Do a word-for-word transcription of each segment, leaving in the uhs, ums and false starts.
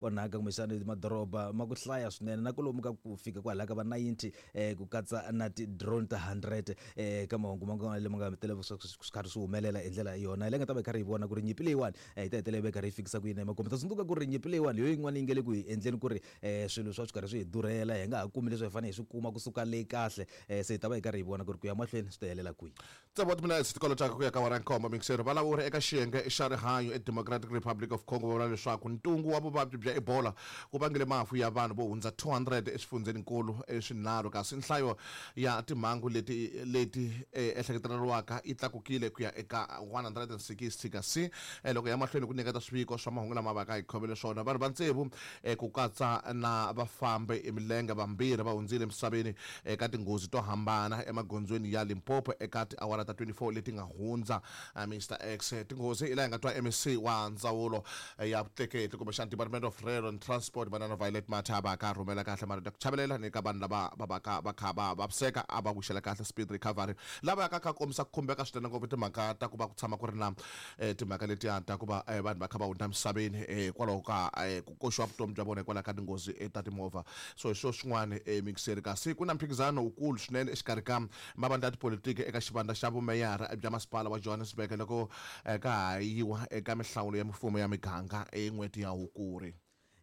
Onhaka kumbexana madoroba ma ku hlaya swinene na kwalomu ka ku fika kwalaha ka va ninety eh ku katsa na ti-drone ta hundred eh ka mahungu ma nga lama nga tele swi karhi swi humelela hi ndlela yona leyi nga ta va yi karhi yi vona ku ri nyimpi leyiwani eh yi ta hetelela yi va yi karhi yi fikisa ku yini emakumu. Ta tsundzuka ku ri nyimpi leyiwani hi yo yin'wana yi nge le ku hi endleni ku ri eh swilo swa swi karhi swi hi durhela, hi nga ha kumi leswi hi fanele hi swi kuma kusuka le kahle eh se hi ta va hi karhi hi vona ku ri ku ya mahlweni swi ta helela kwihi. Tsevu wa timinetse tikolo taka ku ya ka awara nkombo mixero valawuri eka xiyenge xa rihanyo eDemocratic Republic of Congo va vula leswaku ntungu wa vuvabyi bya Ebola wu vangele mafu ya vanhu vo hundza two hundred eswifundzeninkulu swinharhu, kasi nhlayo ya timhangu leti leti ehleketeleriwaka yi tlakukile ku ya eka one hundred and sixty. Kasi loko ya mahlweni ku nyiketa swiviko swa mahungu lama vaka hi khomele swona, vanhu va tsevu ku katsa na vafambi hi milenge vambirhi va hundzile emisaveni eka tinghozi to hambana emagondzweni ya Limpopo eka tiawara ta twenty-four leti nga hundza. Mister X, tinghozi hi laha hi nga twa M C wa ndzawulo ya vutleketli kumbexana Department of Rail and Transport manana Violet Mathe va ka rhumela kahle marito ya ku chavelela ni ka vanhu lava va va ka va kha va vaviseka, a va wixela kahle speed recovery. Lava ya ka kha kombisa ku khumbeka swinene ngopfu timhaka ta ku va ku tshama ku ri na timhaka letiya ta ku va vanhu va kha va hundza emisaveni hikwalaho ka ku koxiwa vutomi bya vona hikwalaho ka tinghozi ta timovha. So hi swo swin'wana mixeri, kasi ku na mphikizano wukulu swinene exikarhi ka mavandla ya tipolitiki eka xivandla xa vumeyara bya masipala wa Johannesburg loko ka ha yiwa eka mihlawulo ya mimfumo ya miganga en'hweti ya Hukuri.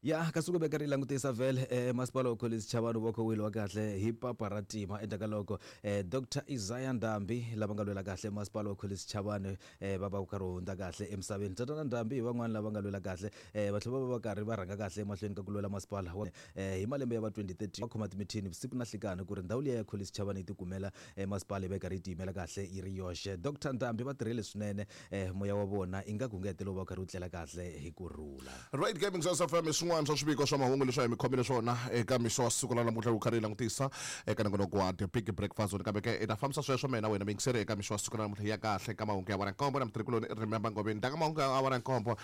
Ya kasi ku veka ri langutisa vhele eh, masipala wa Collins Chavani wa khowile wa kahle hi papa ra tima endzhaku ka loko eh, Doctor Isaiah Ndambi lava nga lwela kahle masipala wa Collins Chavani eh, va va ku karhi hundza kahle emisaveni. Tatana Ndambi hi van'wani lava nga lwela kahle eh, va tlhela va va va karhi va rhanga kahle emahlweni ka ku lwela masipala wa eh, hi malembe ya va twenty thirty va khoma timithini vusiku na nhlikani ku ri ndhawu liya ya Collins Chavani yi tikumela eh, masipala yi va yi karhi yi tiyimela kahle yi ri yoxe. Doctor Ndambi va tirhile swinene eh, moya wa vona ingaku nge hetelela wu va wu karhi wu tlela kahle hi ku rhula. Right Gaming Source F M swin'wana swa swiviko swa mahungu leswi hi mi khomile swona eka mixo wa siku ra namuntlha wu karhi hi langutisa eka nongonoko wa The Big Breakfast Zone. Kambe ke hi ta fambisa sweswo mina wena miyingiseri eka mixo wa siku ra namuntlha ya kahle ka mahungu ya awara nkombo na mutirhikuloni Remember Ngobeni. Ndaka mahungu ya awara nkombo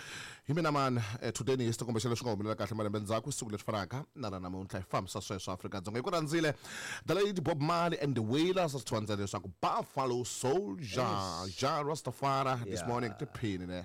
hi mina mani today ni history kumbe leswi nga humelela kahle malembe ndzhaku siku leri fanaka na ra namuntlha hi fambisa sweswo Afrika-Dzonga. Hi ku rhandzile The Lady Bob Marley and the Wailers swi twandzela leswaku Buffalo Soldier, Jah Rastafari this morning tiphini ne.